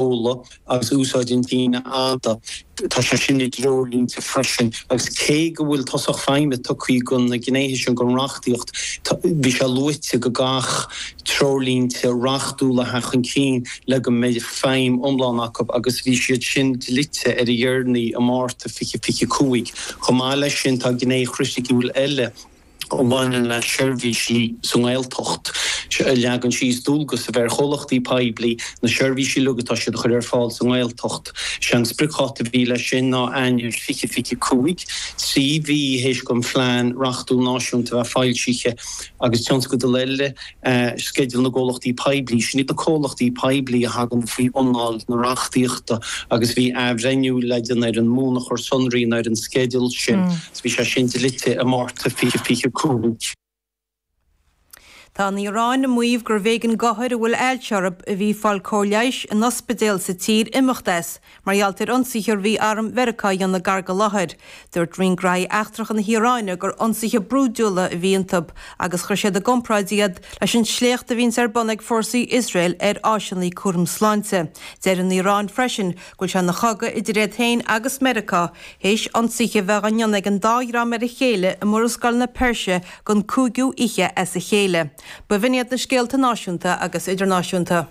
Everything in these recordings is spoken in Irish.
Seoladh agus úsáid an tsínidh fhada, tá sé sin i dtreoirlínte freisin agus cé go bhfuil tosach feidhme tugtha do na gnéithe sin den reachtaíocht, bhí sé luaite go gcaithfeadh treoirlínte reachtúla a theacht chun cinn le go mbeidh feidhm iomlán acu agus bhí siad sin dlite ar a dheireanaí i Márta 2025. Chomh maith leis sin, tá gné chriticiúil eile. a bhaineann le seirbhísí sa nGaeltacht, a leagann síos dualgas a bheith ar chomhlachtaí poiblí na seirbhísí uilig atá siad a chur ar fáil sa nGaeltacht. Sé an spriocdháta a bhí leis sin ná Eanáir 2025, 3 mhí théis don phlean reachtúil náisiúnta a bheith foilsithe, agus tionscadal eile, Sceideal na gComhlachtaí Poiblí. Sin iad na comhlachtaí poiblí a thagann faoi anáil na reachtaíochta agus bhí athbhreithniú le déanamh ar an mbunachar sonraí nó ar an sceideal sin. Bhí sé sin dlite i Márta 2025. Tá an Iaráin ag maíomh gurbh éigean d'othair a bhfuil ailse orthu a bhí ag fáil cóir leighis in ospidéal sa tír imeacht as mar gheall ar ionsaithe a bhí arm Mheiriceá a dhéanamh gar don láthair. Dúirt Roinn Graithí Eachtracha na hIaráine gur ionsaithe brúidiúla a bhí iontu agus chuir siad i gcomparáid iad leis an sléacht a bhíonns ar bun ag fórsaí Iosrael ar áiseanna cúraim sláinte. Deir an Iaráin freisin go bhfuil sé ina chogadh idir iad féin agus Meiriceá Théis ionsaithe a bheith á ndéanamh ag an dá dhream ar a chéile i Murascaill na Peirse don cúigiú oíche as a chéile. B'in iad na scéalta náisiúnta agus idirnáisiúnta.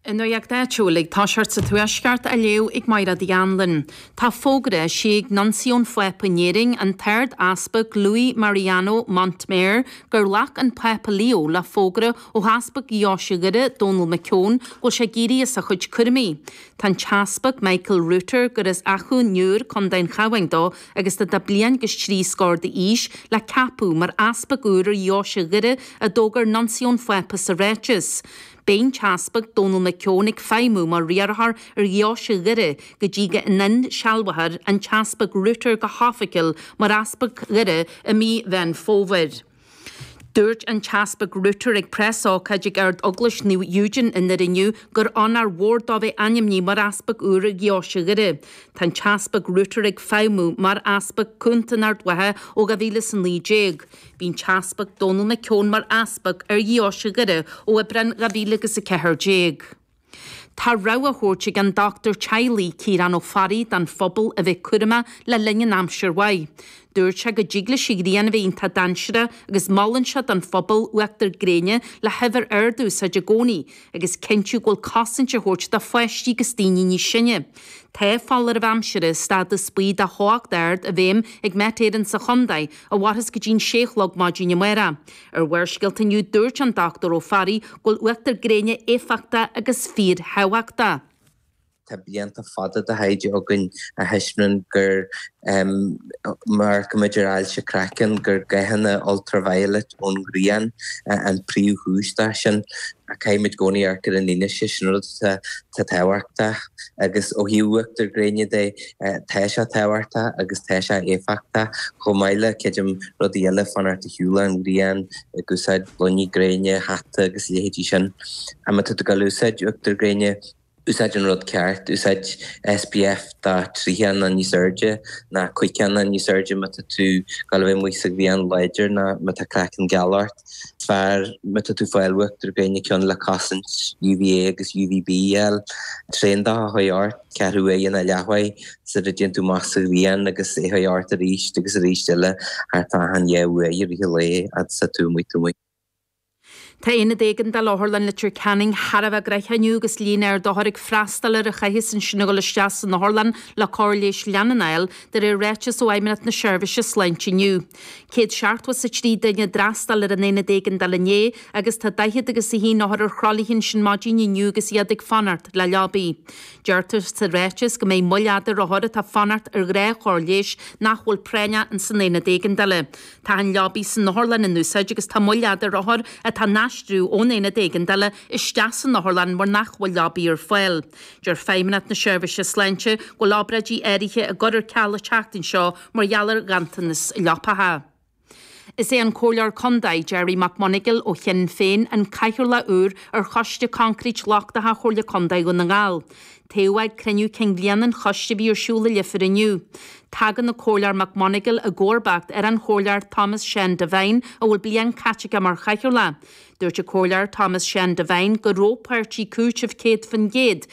An Nuacht Áitiúil ag toiseacht sa Tuaisceart á léamh ag Mairéad Uí Anluain. Tá fógra eisithe ag Nuncio an Phápa in Éirinn, an tArd-Easpag Luis Mariano Montemayor, gur ghlac an Pápa Leo le fógra ó Easpag Dheoise Dhoire, Dónal McKeown, go bhfuil sé ag éirí as a chuid cúraimí. Tá an tEaspag Michael Rutter, gur as Achadh an Iúir, Co. an Chabháin dó agus atá bliain agus trí scór d'aois, le ceapadh mar easpag úr ar Dheoise Dhoire, a d'fhógair Nuncio an Phápa sa ráiteas. Beidh an tEaspag Dónal McKeown ag feidhmiú mar riarthóir ar Dheoise Dhoire go dtí go n-insealbhófar an tEaspag Rutter go hoifigiúil mar Easpag Dhoire i mí Mheán Fómhair. Dúirt an tEaspag Rutter ag preasócáid ag Ard-Eaglais Naomh Eugene i nDoire inniu gur onóir mhór dó bheith ainmnithe mar Easpag úr ar Dheoise Dhoire. Tá an tEaspag Rutter ag feidhmiú mar Easpag Cúnta in Ard Mhacha ó 2019. Bhí an tEaspag Dónal McKeown mar Easpag ar Dheoise Dhoire ó Aibreán 2014. Tá rabhadh á thabhairt ag an dochtúir teaghlaigh Ciarán Ó Fearraigh don phobal a bheith cúramach le linn an aimsir mhaith. Dúirt sé go dtig leis an ghrian a bheith iontach dainséarach agus molann sé don phobal uachtar gréine le huimhir ard a úsáid i gcónaí agus cinntiú go bhfuil cosaint á thabhairt do pháistí agus daoine níos sine. Tá foláireamh aimsire stádas buí de theocht ard i bhfeidhm ag Met Éireann sa chontae a mhairfeas go dtí'n sé a chlog maidin amárach. Ar Bharrscéalta inniu dúirt an Dr Ó Fearraigh go bhfuil uachtar gréine éifeachtach agus fíorthábhachtach. Tá blianta fada de thaighde againn a thaispeánann gur, má amharcaimid ar ailse craicinn, gur gathanna ultraviolet ón ghrian an príomhchúis dó sin. Caithfimid i gcónaí amharc ar an fhianaise, sin rud atá tábhachtach. Agus ó thaobh uachtar gréine de, tá sé tábhachtach agus tá sé éifeachtach, chomh maith le, creidim, rudaí eile, fanacht ar shiúl ón ghrian, ag úsáid gloiní gréine, hata agus a leithéidí sin. Má tá tú ag dul a úsáid uachtar gréine, úsáid an rud ceart, úsáid SPF de 30 nó níos airde, nó 50 nó níos airde má tá tú ag dul a bheith amuigh sa ghrian láidir nó má tá craiceann geal ort. Is fearr má tá tú ag fáil uachtar gréine ceann le cosaint UVA agus UVB a fháil. Tréan de a chur ort, ceathrú uaire nó leathuair sula dtéann tú amach sa ghrian agus é a chur ort arís agus arís eile thart fá achan dhá uair i rith an lae fhad is atá tú amuigh. Tá Aonad Éigeandála Otharlann Leitir Ceanainn thar a bheith gnoitheach inniu agus líon ard othar ag freastal air a chaitheas ansin a dhul isteach san otharlann le cóir leighis leanúnach a fháil, de réir ráiteas ó Fheidhmeannacht na Seirbhíse Sláinte inniu. 173 duine a d'fhreastail ar an Aonad Éigeandála inné agus tá 40 agus 1 othar ar thralaithe ansin maidin inniu agus iad ag fanacht le leabaí. Deirtear sa ráiteas go mbeidh moill fhada ar othair atá ag fanacht ar ghnáthchóir leighis nach bhfuil práinneach ins an Aonad Éigeandála. Tá an leabaí san otharlann in úsáid agus tá moill fhada ar othair atá á n-aistriú ón aonad éigeandála isteach san otharlann mar nach bhfuil leabaí ar fáil. Deir Feidhmeannacht na Seirbhíse Sláinte go bhfuil obráidí áirithe á gcur ar ceal an tseachtain seo mar gheall ar ghanntanas leapacha. Is é an Comhairleoir Contae, Gerry McMonagall ó Shinn Féin an Cathaoirleach úr ar Choiste Coincreít Lochtacha Chomhairle Contae Dhún na nGall. Toghadh é ag cruinniú cinn bhliana an choiste a bhí ar siúl i Leifear inniu. Tagann an Comhairleoir McMonagall i gcomharbacht ar an Chomhairleoir Thomas Seán Devine a bhfuil bliain caite aige mar Chathaoirleach. Dúirt an Comhairleoir Thomas Seán Devine go raibh páirtí cúiteamh 100%.